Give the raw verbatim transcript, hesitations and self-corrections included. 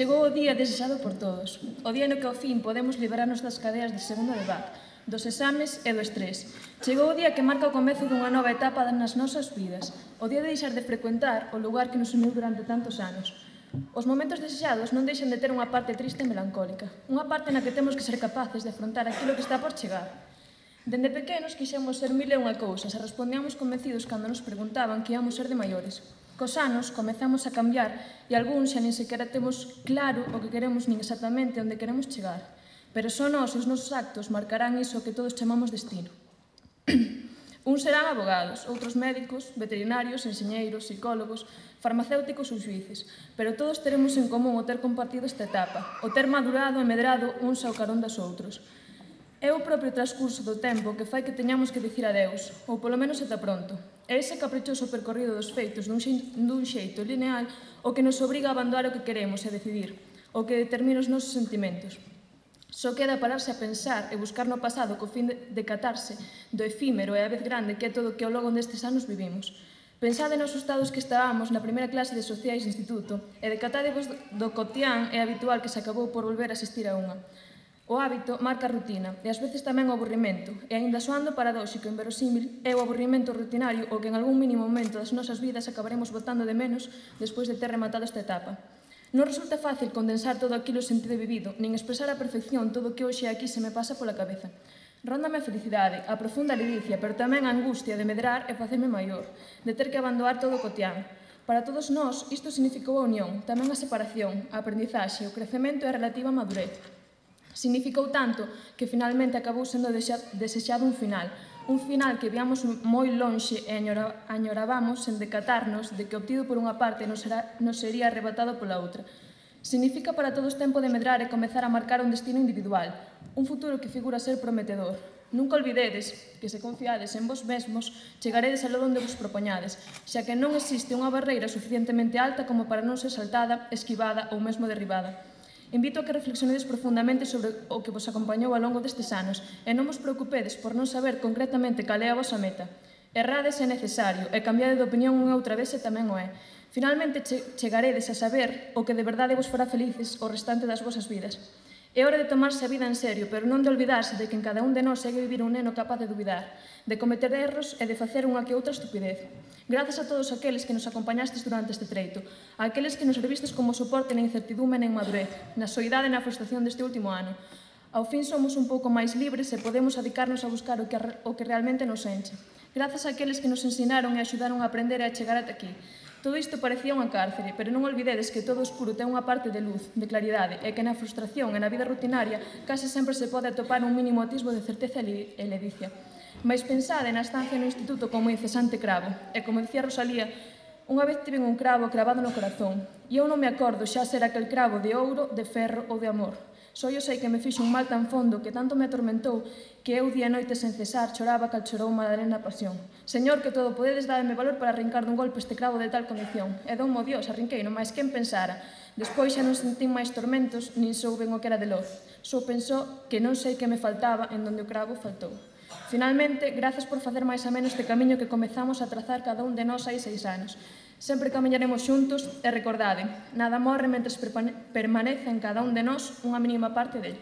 Chegou o día desexado por todos, o día no que ao fin podemos liberarnos das cadeas de segunda de B A C, dos exames e do estrés. Chegou o día que marca o comezo dunha nova etapa nas nosas vidas, o día de deixar de frecuentar o lugar que nos uniu durante tantos anos. Os momentos desexados non deixan de ter unha parte triste e melancólica, unha parte na que temos que ser capaces de afrontar aquilo que está por chegar. Dende pequenos quixemos ser mil e unha cousas e respondíamos convencidos cando nos preguntaban que íamos ser de maiores. Cos anos comezamos a cambiar e algúns xa nin sequera temos claro o que queremos nin exactamente onde queremos chegar. Pero só nós e os nosos actos marcarán iso que todos chamamos destino. Uns serán abogados, outros médicos, veterinarios, enxeñeiros, psicólogos, farmacéuticos ou xuíces, pero todos teremos en común o ter compartido esta etapa, o ter madurado e medrado uns ao carón dos outros. É o propio transcurso do tempo que fai que teñamos que dicir adeus, ou polo menos ata pronto. É ese caprichoso percorrido dos feitos dun xeito lineal o que nos obriga a abandonar o que queremos e a decidir, o que determina os nosos sentimentos. Só queda pararse a pensar e buscar no pasado co fin de decatarse do efímero e a vez grande que é todo o que ao longo destes anos vivimos. Pensade nos estados que estábamos na primeira clase de sociais de instituto e decatádevos do cotián e habitual que se acabou por volver a asistir a unha. O hábito marca a rutina e ás veces tamén o aburrimento, e aínda soando paradóxico e inverosímil, é o aburrimento rutinario o que en algún mínimo momento das nosas vidas acabaremos botando de menos despois de ter rematado esta etapa. Non resulta fácil condensar todo aquilo sentido e vivido, nin expresar a perfección todo o que hoxe aquí se me pasa pola cabeza. Róndame a felicidade, a profunda ledicia, pero tamén a angustia de medrar e facerme maior, de ter que abandonar todo o cotián. Para todos nós, isto significou a unión, tamén a separación, a aprendizaxe, o crecemento e a relativa madurez. Significou tanto que finalmente acabou sendo desexado un final, un final que viamos moi lonxe e añorabamos sen decatarnos de que obtido por unha parte nos sería arrebatado pola outra. Significa para todos tempo de medrar e comezar a marcar un destino individual, un futuro que figura ser prometedor. Nunca olvidedes que se confiades en vos mesmos, chegaredes aló onde vos propoñades, xa que non existe unha barreira suficientemente alta como para non ser saltada, esquivada ou mesmo derribada. Invito a que reflexionedes profundamente sobre o que vos acompañou ao longo destes anos e non vos preocupedes por non saber concretamente cal é a vosa meta. Errades é necesario e cambiade de opinión unha outra vez e tamén o é. Finalmente chegaredes a saber o que de verdade vos fará felices o restante das vosas vidas. É hora de tomarse a vida en serio, pero non de olvidarse de que en cada un de nós segue vivir un neno capaz de dubidar, de cometer erros e de facer unha que outra estupidez. Grazas a todos aqueles que nos acompañastes durante este treito, a aqueles que nos servistes como soporte na incertidumbre e na inmadurez, na soidade e na frustración deste último ano. Ao fin somos un pouco máis libres e podemos adicarnos a buscar o que, o que realmente nos enche. Grazas a aqueles que nos ensinaron e axudaron a aprender e a chegar ata aquí. Todo isto parecía unha cárcere, pero non olvidedes que todo escuro ten unha parte de luz, de claridade, e que na frustración e na vida rutinaria case sempre se pode atopar un mínimo atisbo de certeza e ledicia. Mais pensade na estancia no instituto como incesante cravo, e como dicía Rosalía, unha vez tiven un cravo cravado no corazón, e eu non me acordo xa ser aquel cravo de ouro, de ferro ou de amor. Só eu sei que me fixo un mal tan fondo que tanto me atormentou que eu día e noite sen cesar choraba cal chorou Madalena a pasión. Señor, que todo podedes darme valor para arrincar dun golpe este cravo de tal condición. E dou mo Dios, arrinqueino, máis quen pensara. Despois xa non sentín máis tormentos, nin souben o que era de loz. Só pensou que non sei que me faltaba en donde o cravo faltou. Finalmente, grazas por facer máis ameno este camiño que comezamos a trazar cada un de nós hai seis anos. Sempre camiñaremos xuntos e recordade, nada morre mentres permanece en cada un de nós unha mínima parte dele.